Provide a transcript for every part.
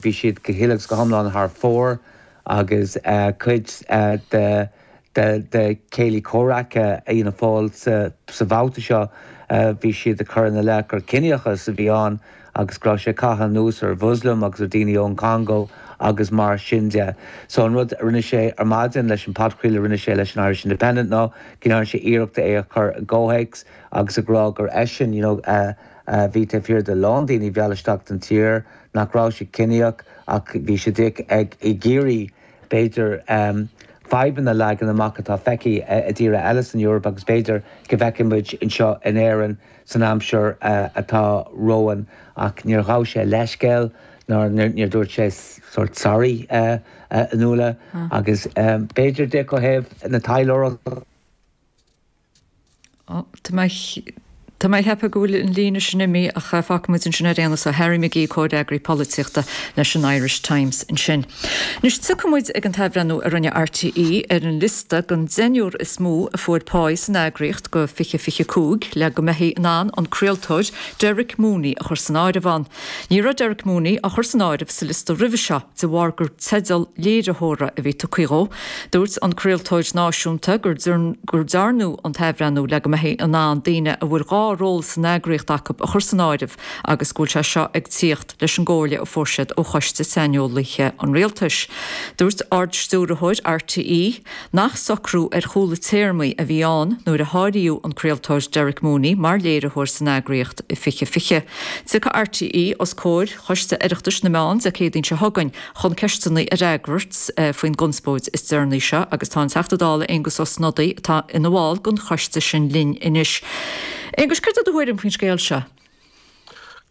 Bhí siad go huile agus go hiomlán thar fóir agus cuid de de céilí comhraice Fhianna Fáil sa bhabhta seo, bhí siad ag cur ina leith gur ciníochas a bhí ann agus go raibh sé ag caitheamh anuas ar Mhuslim agus ar daoine ón Congo agus mar sin de. So an rud a rinne sé ar maidin leis an podchraoladh a rinne sé leis an Irish Independent ná go ndearna sé iarracht é a chur i gcomhthéacs agus ag rá gur eisean you know a bhí taobh thiar de a lán daoine a mheall isteach don tír, nach raibh sé ciníoch ach bhí sé díreach ag iarraidh, b'fhéidir, fadhbanna a leagan amach atá feicthe i dtíortha eile san Eoraip agus b'fhéidir go bhfeicfidh muid anseo in Éirinn san aimsir atá romhainn. Ach níor ghabh sé leithscéal ná níor dúirt sé sórt sorry a Fhionnuala agus b'fhéidir díreach ó thaobh na taidhleoireachta. Tá mé Tá mé ag ceapadh go bhfuil an líne sin imithe ach fágfaidh muid ansin ar aon nós é. Harry McGee, Comhfhreagraí Polaitíochta leis an Irish Times ansin. Anois tiocfaidh muid ag an t-athbhreithniú a rinne RTÉ ar an liosta den deichniúr is mó a fuair páí san eagraíocht do 2025 le go mbeifí in ann an craoltóir Derek Mooney a chur san áireamh ann. Ní raibh Derek Mooney á chur san áireamh sa liosta roimhe seo de bharr gur teideal léiritheora a bhí tugtha dhó. Dúirt an craoltóir náisiúnta gur dearnadh an t-athbhreithniú le go mbeifí in ann daoine a bhfuil 2 ról san eagraíocht acu a chur san áireamh agus go bhfuil sé seo ag tíocht leis an gcomhairle a fuair siad ó Choiste Saineolaithe an Rialtais. Dúirt Ard-Stiúrthóir RTÉ nach socrú ar chúla téarmaí a bhí ann nuair a háiríodh an craoltóir Derek Mooney mar léiritheoir san eagraíocht i 2020. Tiocfaidh RTÉ os comhair Choiste Oireachtais na Meán Dé Céadaoin seo chugainn chun ceisteanna a fhreagairt faoin gconspóid is deireanaí seo agus tá an Teachta Dála Aengus Ó Snodaigh atá ina bhall den choiste sin linn anois. Aengus, céard é do thuairim faoin scéal seo?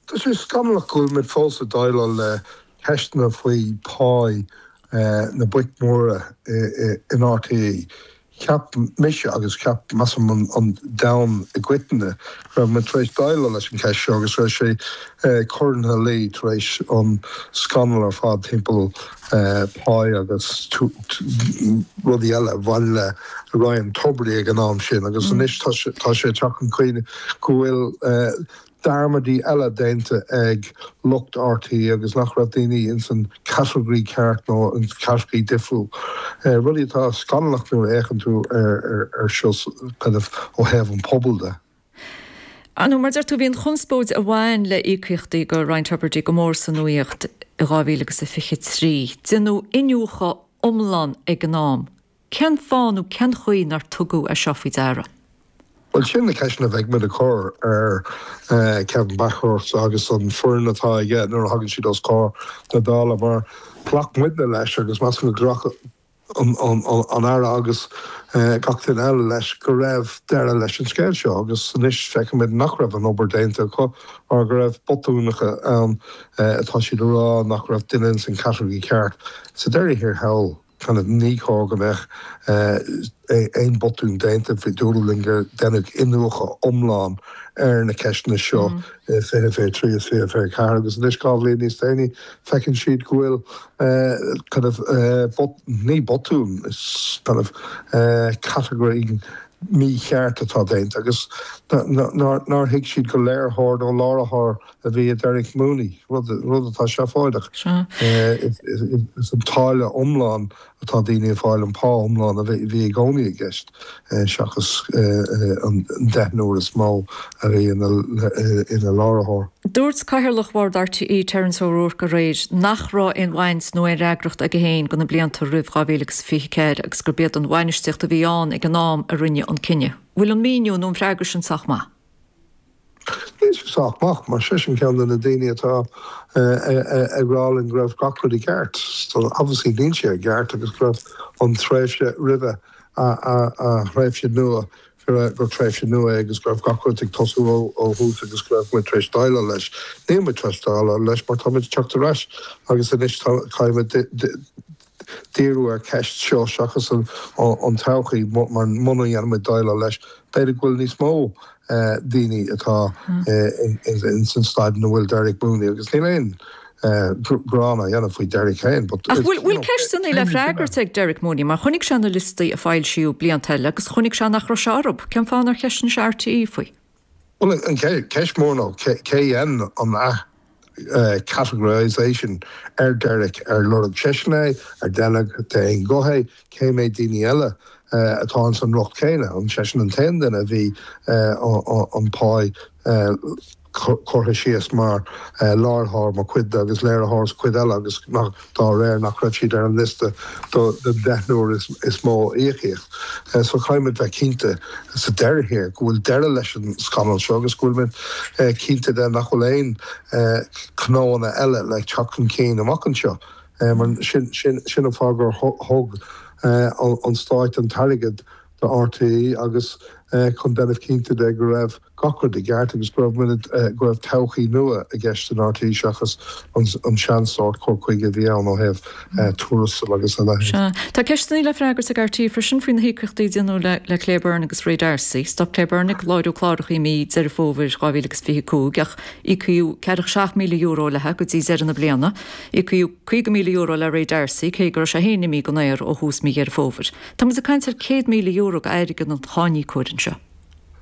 Tá sé scannalach go bhfuil muid fós ag déileáil le ceisteanna faoi pá na boic mhóra in RTÉ. Cheap mise agus cheap, measaim, an domhan i gcoitinne go raibh muid tar éis déileáil leis an cheist seo agus go raibh sé curtha ina luí tar éis an scannal ar fad timpeall páí agus rudaí eile a bhain le Ryan Tubridy ag an am sin agus anois tá sé ag teacht chun cinn go bhfuil dearmadaí eile déanta ag lucht RTÉ agus nach raibh daoine ins an category ceart nó in category difriúil. Rudaí atá scannalach nuair a fhéachann tú ar seo kind of ó thaobh an pobail de. Ar ndóigh, mar deir tú, bhí an chonspóid a bhain le íocaíochtaí go Ryan Tubridy go mór sa nuaíocht i 2023. Déanadh iniúchadh iomlán ag an am. Cén fáth nó cén chaoi nár tugadh é seo faoi deara? Bhuel, sin na ceisteanna a bheidh muid ag cur ar Kevin Bakhurst agus an foireann atá aige nuair a thagann siad os comhair na Dála mar ghlac muidne leis agus measaim go ghlac an Aire agus gach duine eile leis go raibh deireadh leis an scéal seo agus anois feicimid nach raibh an obair déanta acu mar go raibh botúnacha ann atá siad a rá nach raibh duine ins an category ceart. Sa deireadh thiar thall. kind of ní chóir go mbeadh aon botún déanta. Bhí dúradh linn gur deineadh iniúchadh iomlán ar na ceisteanna seo i 2023 is 2024 agus anois 2 bhliain níos déanaí feiceann siad go bhfuil kind of ní botún, is kind of category mícheart atá déanta agus nár thuig siad gur léiritheoir nó láithreoir a bhí i Derek Mooney, rud atá seafóideach. Is an táille iomlán atá daoine ag fáil, an pá iomlán a bhí i gcónaí i gceist, seachas an deichniúr is mó a bhí ina láithreoir. Dúirt Cathaoirleach Bhord RTÉ, Terence O'Rourke aréir nach raibh aon bhaint nó aon fhreagracht aige féin do na blianta roimh 2024 agus gurb iad an bhainistíocht a bhí ann ag an am a rinne an cinneadh. Bhfuil an míniú nó an freagra sin sách maith? Níl sé sách maith, mar seisean ceann de na daoine atá ag rá linn go raibh gach rud i gceart. So obviously níl sé i gceart agus go raibh an tréimhse roimhe a thréimhse nua, gur tréimhse nua é agus go raibh gach rud ag tosú ó thús agus go raibh muid tar éis déileáil leis. Níl muid tar éis déileáil leis mar tá muid ag teacht ar ais agus anois caithfidh muid díriú ar cheist seo seachas an todhchaí mar muna ndéanann muid déileáil leis, b'fhéidir go bhfuil níos mó daoine atá ins an staid ina bhfuil Derek Mooney agus níl aon ghearán á dhéanamh faoi Derek féin but Ach bhfuil bhfuil ceisteanna le freagairt ag Derek Mooney mar chonaic sé na liostaí a foilsíodh blianta eile agus chonaic sé nach raibh sé orthu. Cén fáth nár cheistigh sé RTÉ faoi? Bhuel an cheist mhór ná cé dhein an ath. categorisation ar Derek, ar lorg seisean é, ar deineadh d'aon ghuth é, cé mhéad daoine eile atá ins an riocht céanna, an seisean an t-aon duine a bhí an pá curtha síos mar láithreoir mar chuid de agus léiritheoir sa chuid eile agus dá réir nach raibh siad ar an liosta den deichniúr is mó íocaíocht. So caithfidh muid bheith cinnte sa deireadh thiar go bhfuil deireadh leis an scannal seo agus go bhfuil muid cinnte de nach bhfuil aon chnóanna eile le teacht chun cinn amach anseo. Mar sin an fáth gur thug an Stáit an t-airgead do RTÉ agus chun déanamh cinnte de go raibh gach rud i gceart agus go raibh muid, go raibh todhchaí nua i gceist in RTÉ seachas an seansórt cur chuige a bhí ann ó thaobh tuarastail agus a leithéid. Sea. Tá ceisteanna le freagairt ag RTÉ freisin faoi na híocaíochtaí a déanadh le Claire Byrne agus Ray D'Arcy. Stop Claire Byrne ag láithriú cláracha i mí Deireadh Fómhair 2025 ach íocaíodh €47,000 léi go dtí deireadh na bliana. Íocaíodh €50,000 le Ray D'Arcy cé go raibh sé féin imithe den aer ó thús mí Dheireadh Fómhair. Tá muid ag caint ar €100,000 d'airgead an cháiníocóir anseo.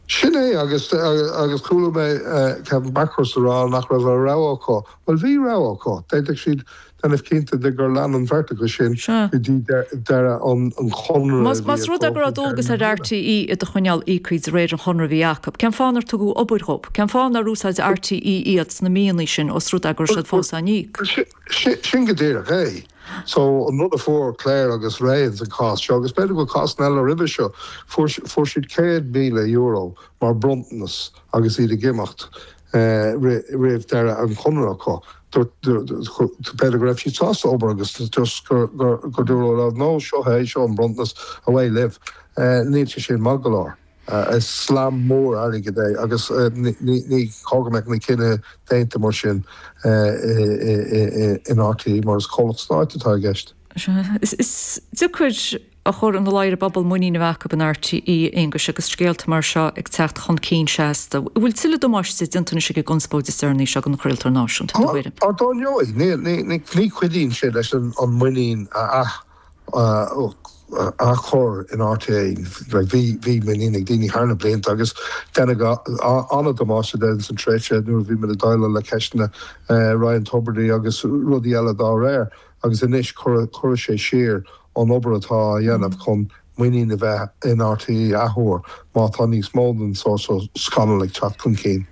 Sin é, agus agus chuala mé Kevin Bakhurst ag rá nach raibh a rogha acu. Bhuel, bhí rogha acu. D'fhéadfadh siad déanamh cinnte de gur lean an bheirt acu sin go dtí deireadh an chonradh a bhí Más rud é go raibh dualgas ar RTÉ iad a choinneáil íoctha de réir an chonradh a bhí acu, cén fáth nár tugadh obair dhóibh? Cén fáth nár úsáid RTÉ iad sna míonna sin os rud é go raibh siad fós á n-íoc? Sin go díreach é. So, an rud a fuair Claire agus Ray ins an cás seo, agus b'fhéidir go bhfuil cásanna eile roimhe seo, fuair fuair siad €100,000 mar bronntanas agus iad ag imeacht roimh deireadh an chonradh acu. B'fhéidir go raibh siad sásta obair agus just gur gur dúradh leo, no, seo é, seo an bronntanas, away libh. Níl sé sin maith go leor. Is slam mór airgid é agus ní chóir go mbeadh na cinntí déanta mar sin in RTÉ mar is comhlacht stáit atá i gceist. Is deacair a chur ina luí ar an bpobal muinín a bheith acu in RTÉ, a Aonghuis, agus scéalta mar seo ag teacht chun cinn seasta. An bhfuil tuilleadh damáiste déanta anois ag an gconspóid is deireanaí seo don chraoltóir náisiúnta, i do thuairim? Á, dar ndóigh. Ní chuidíonn sé leis an muinín a athchur in RTÉ. Bhí muinín ag daoine thar na blianta agus deineadh an-damáiste de ins an tréimhse nuair a bhí muid ag déileáil le ceisteanna Ryan Tubridy agus rudaí eile dá réir agus anois cuirfidh sé siar an obair atá á dhéanamh chun muinín a bheith in RTÉ athuair má tá níos mó den sórt seo scannal ag teacht chun cinn.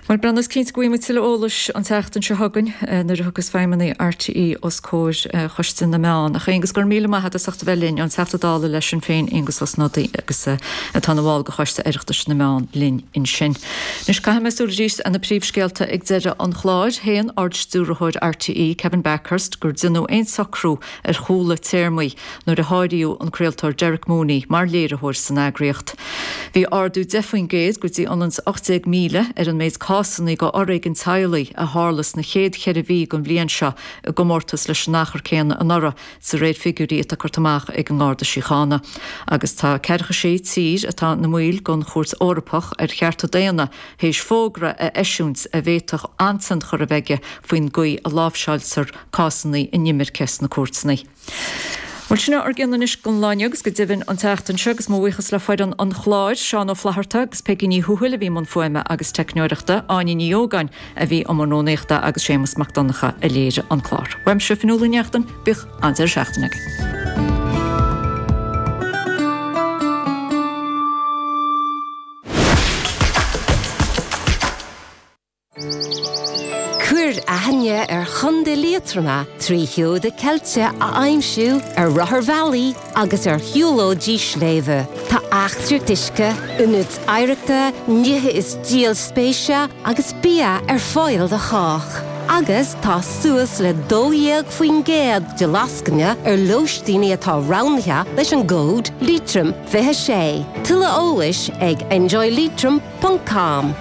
Bhuel, Breandán, is cinnte go bhfaighidh muid tuilleadh eolais an tseachtain seo chugainn nuair a thiocfas feidhmeannaigh RTÉ os comhair Choiste na Meán. Ach, a Aonghus, go raibh míle maith agat as ucht a bheith linn, an Teachta Dála le Sinn Féin, Aengus Ó Snodaigh, agus atá ina bhall de Choiste Oireachtais na Meán linn ansin. Anois, caithfidh mé súil arís ar na príomhscéalta ag deireadh an chláir. Shéan Ard-Stiúrthóir RTÉ, Kevin Bakhurst, gur déanadh aon socrú ar chúla téarmaí nuair a háiríodh an craoltóir Derek Mooney mar léiritheoir san eagraíocht. Bhí ardú 10% go dtí ionann is 18,000 ar an méid cásanna de fhoréigean teaghlaigh a tharla sna chéad cheithre mhí den bhliain seo i gcomórtas leis an achar céanna anuraidh, de réir figiúirí atá curtha amach ag an nGarda Síochána. Agus tá ceathracha sé tír atá ina mbaill den Chúirt Eorpach ar Chearta Daonna théis fógra a eisiúint a bhféadfadh an-tionchar a bheith aige faoin gcaoi a láimhseáiltear cásanna inimirce sna cúirteanna. Bhuel, sin é ár gcion anois don lá inniu agus go deimhin an tseachtain seo agus mo bhuíochas le foireann an chláir, Seán Ó Flatharta agus Peigí Ní Thuathail a bhí i mbun fuaime agus teicneoireachta, Áine Ní Ógáin a bhí i mbun rúnaíochta agus Séamus Mac Donncha a léirigh an clár. Uaimse, Fionnuala Ní Neachtain, bíodh an-deireadh seachtaine agaibh. Cuir aithne ar Chontae Liatroma trí sheoda ceilte a aimsiú ar rotharbhealaí agus ar shiúlóidí sléibhe. Tá eachtraíocht uisce, ionaid oidhreachta, nithe is díol spéise agus bia ar fáil do chách. Agus tá suas le 12% de lascaine ar lóistíní atá roghnaithe leis an gcód Leitrim 26. Tuilleadh eolais ag enjoyleitrim ponc com.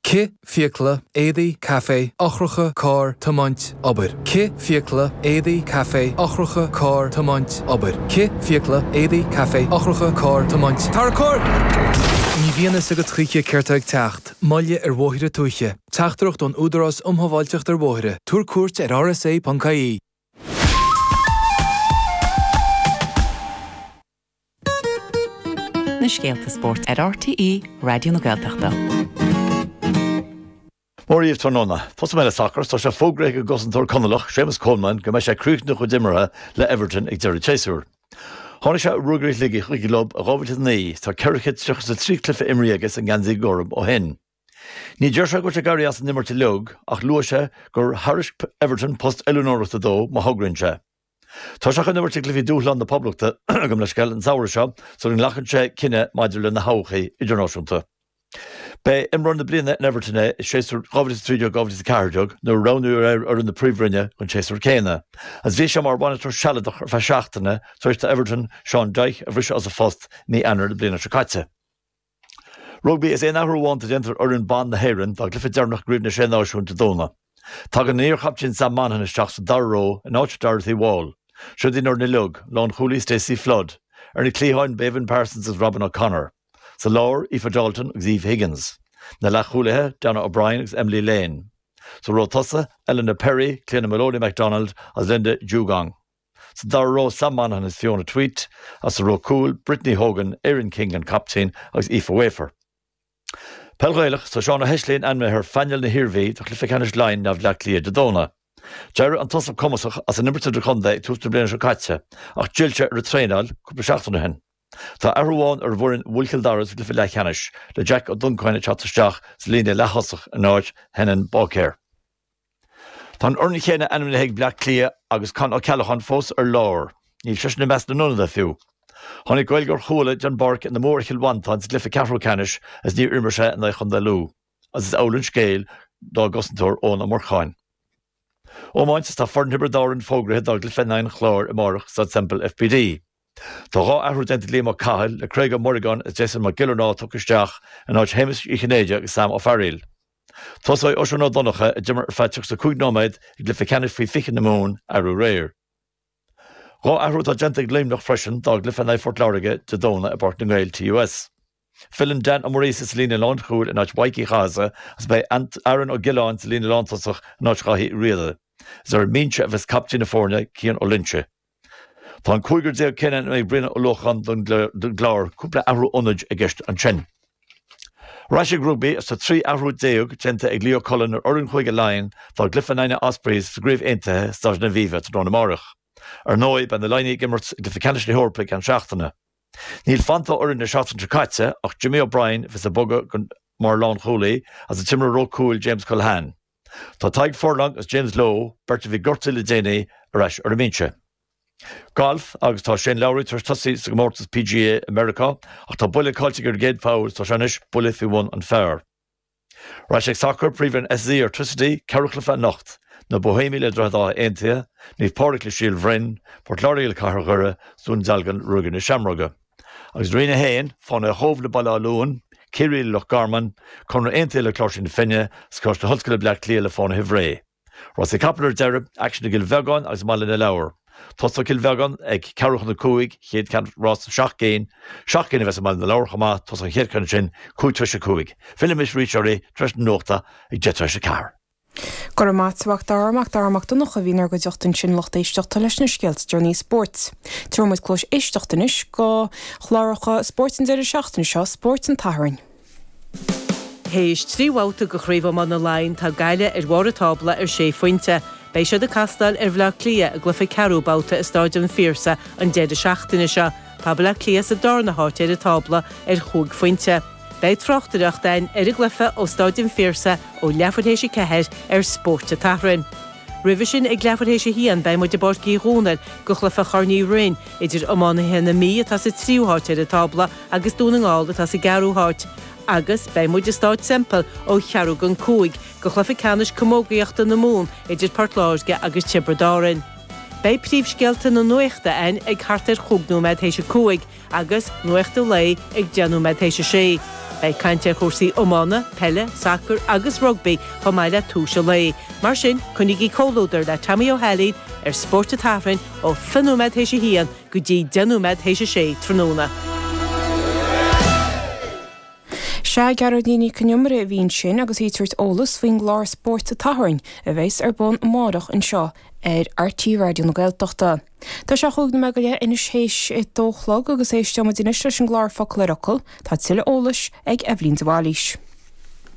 Cith, fiacla, éadaí, caife, eochracha, carr, tiomáint, obair. Cith, fiacla, éadaí, caife, eochracha, carr, tiomáint, obair. Cith, fiacla, éadaí, caife, eochracha, carr, tiomáint, Tarracóir! Ní bhíonn fhios agat choíche céard tá ag teacht. Moilligh ar bhóithre tuaithe. Teachtaireacht ón Údarás um Shábháilteacht ar Bhóithre. Tabhair cuairt ar rsa.ie. Na scéalta spóirt ar RTÉ Raidió na Gaeltachta. Mora dhaoibh tráthnóna. Tosóidh mé le sacar. Tá sé fógraithe ag an gcosantóir Conallach, Séamus Coleman, go mbeidh sé ag críochnú a chuid imeartha le Everton ag deireadh an tséasúir. Tháinig sé ó Ruagairí Shligigh chuig an gclub i 2009. Tá 433 cluiche imrithe aige sa ngeansaí gorm ó shin. Ní deir sé go bhfuil sé ag éirí as an imirt uilig ach luaigh sé gur thairisc Everton post oiliúnóireachta dó má thograíonn sé. Tá sé chun imirt i gcluichí Dúshlán na Poblachta, gabh mo leithscéal, an samhradh seo sula nglacann sé cinneadh maidir lena thodhchaí idirnáisiúnta. B'é imreoir na bliana in Everton é i séasúr 2013, 2014 nuair a roghnaíodh é ar fhoireann na Príomhroinne don séasúr céanna agus bhí sé mar bhainisteoir sealadach ar feadh seachtaine tar éis d'Everton Sean Dyche a bhriseadh as a phost i mí Eanáir na bliana seo caite. Rugbaí Is aon athrú amháin atá déanta ar fhoireann ban na hÉireann dá gcluiche deireanach i gCraobh na Sé Náisiún Dé Domhnaigh. Tagann an iar-chaptaen Sam Monaghan isteach sa dara ró in áit Dorothy Wall. Siod iad an fhoireann uilig, Lánchúlaí Stacey Flood. Ar na cliatháin Béibhinn Parsons agus Robyn O'Connor. Sa lár, Aoife Dalton agus Eve Higgins. Na leathchúlaithe, Donna O'Brien agus Emily Lane. Sa ró tosaigh, Eleanor Perry, Cliona Moloney McDonald agus Linda Djougang. Sa dara ró, Sam Monaghan agus Fiona Tuite, agus sa ró cúil, Brittany Hogan, Erin King an captaen agus Aoife Wafer. Peil Ghaelach, Tá Seán Ó hEisléin ainmnithe ar phainéal na hIarmhí do chluiche ceannais Laighean in aghaidh Bhleá Cliath Dé Domhnaigh. D'éirigh an tosach cumasach as an imirt idirchontae ag tús na bliana seo caite ach d'fhill sé ar an traenáil cúpla seachtain ó shin. Tá athrú amháin ar an bhfoireann a bhuail Cill Dara sa gcluiche leathcheannais, le Jack Ó Donnchadha ag teacht isteach sa líne leath-thosach in áit Shenan Báicéir. Tá an fhoireann chéanna ainmnithe ag Bleá Cliath agus Con Ó Ceallacháin fós ar lár. Níl seisean i measc na n-ionadaithe fiú. Tháinig Gaeilgeoir Chuala den bpáirc ina mbua ar Chill Mhantáin sa gcluiche ceathrú ceannais agus níor imir sé in aghaidh Chontae Lú agus is amhlaidh an scéal dá gcosantóir Eoin Ó Murcháin. Iomáint Tá foireann Thiobraid Árann fógraithe dá gcluiche in aghaidh an Chláir amárach i Staid Semple FBD. Tá 2 athrú déanta ag Liam Ó Cathail, le Craig Ó Muireagáin agus Jason Mac Giollarnáth tugtha isteach in áit Shéamus Uí Chinnéide agus Sam Ó Fearghaíl. Tosóidh Oisín Ó Donnchadha, a d'imir ar feadh 35 nóiméad i gcluiche ceannais faoi 20 na Mumhan arú aréir. 2 athrú atá déanta ag Luimneach freisin dá gcluiche in aghaidh Phort Láirge Dé Domhnaigh i bPáirc na nGael, TUS. Filleann Dan Ó Muiríosa sa líne lánchúil in áit Mhaidhc Uí Chathasaigh agus beidh Aaron Ó Giolláin sa líne lántosach in áit Dhaithí Uí Riada. Is ar an mbinse a bheas captaen na foirne, Cian Ó Loinsigh. Tá an cúigear céanna ainmnithe ag Brian Ó Luacháin don gClár, cúpla athrú ionaid i gceist ansin. Ar ais ag rugbaí, is tá 13 athrú déanta ag Leo Cullen ar fhoireann Chúige Laighean dá gcluiche in aghaidh na Ospreys sa gCraobh Aontaithe i Staid an Aviva tráthnóna amárach. Ar ndóigh, beidh na Laighnigh ag imirt i gcluiche ceannais na hEorpa i gceann seachtaine. Níl fanta ó fhoireann na seachtaine seo caite ach Jimmy O'Brien a bheas ag bogadh mar lánchúlaí agus an t-imreoir ró cúil James Culhane. Tá Tadhg Furlong agus James Lowe, beirt a bhí gortaithe le déanaí, ar ais ar an mbinse. Galf, Agus tá Shane Lowry tar éis tosaí sa gcomórtas PGA i Meiriceá ach tá buille caillte aige ar an gcéad pholl is tá sé anois buille faoi bhun an phar. Ar ais ag sacar, Príomhroinn SSE Airtricity, ceathrú chluiche anocht. Na Boihéamaigh le Droichead Átha Aontaithe, Naomh Pádraig le Síol Bhroin, Port Láirge le Cathair Dhoire, 's Dún Dealgan Ruagairí na Seamróige. Agus Roinn 1, Fánaithe Chóbh le Baile Átha Luain, Ciarraí le Loch Garman, Conradh Aontaithe le Cláirsigh na Finne, 's Coláiste na hOllscoile Bleá Cliath le Fánaithe Bhré. Rásaí capall ar deireadh, aicsean i gCill Bheagáin agus i mBaile na Lobhar. Tosóidh Cill Bheagáin ag ceathrú chun a 5, chéad cheann rás 7 gcinn, 7 gcinn a bheas i mBaile na Lobhar chomh maith, tosóidh an chéad cheann sin 5 tar éis a 5. Fillfidh mise arís oraibh tar éis na nuachta ag 10 tar éis a 4. Go raibh maith a't, a Mhac Dara, Mac Dara Mac Donncha a bhí inár gcuideachta ansin lucht éisteachta leis na scéalta deireanaí spóirt. Tabharfaidh muid cluais éisteachta anois go chláracha spóirt an deireadh seachtaine seo, Spórt an tSathairn. Théis 3 bhabhta de Chraobh Iomána Laighean tá Gaillimh ar bharr an tábla ar 6 phointe. Beidh siad ag castáil ar Bhleá Cliath i gcluiche ceathrú babhta i Stáid an Phiarsaigh an deireadh seachtaine seo. Tá Bleá Cliath sa darna háit ar an tábla ar chúig phointe. Beidh tráchtaireacht againn ar an gcluiche ó Stáid an Phiarsaigh ó leathuair théis a 4 ar Spórt an tSathairn. Roimhe sin ag leathuair théis a haon beidh muid i bPáirc Uí Dhónaill go chluiche Chorn Uí Rinn idir iománaithe na Mí atá sa tríú háit ar an tábla agus Dún na nGall atá sa gceathrú háit. Agus beidh muid i Stáid Semple ó cheathrú don 5 go chluiche ceannais camógaíochta na Mumhan idir Port Láirge agus Tiobraid Árann. Beidh príomhscéalta na nuachta againn ag thart ar chúig nóiméad théis a 5 agus Nuacht an Lae ag 10 nóiméad théis a 6. Beidh caint ar chúrsaí iomána, peile, sacair agus rugbaí chomh maith le tomhais an lae. Mar sin, coinnígí comhluadar le Tommy Ó hAilín ar Spórt an tSathairn ó 20 nóiméad théis a haon go dtí 10 nóiméad théis a 6 tráthnóna. Sea, Gearóidín Nic Con Iomaire a bhí ansin agus í ag tabhairt eolas faoin gclár Spórt an tSathairn a bheas ar bun amárach anseo ar RTÉ Raidió na Gaeltachta. Tá sé chúig nóiméad go leith anois théis a dó a chlog agus éisteoidh muid anois leis an gclár Focal ar Fhocal. Tá tuilleadh eolais ag Eibhlín de Bhailís.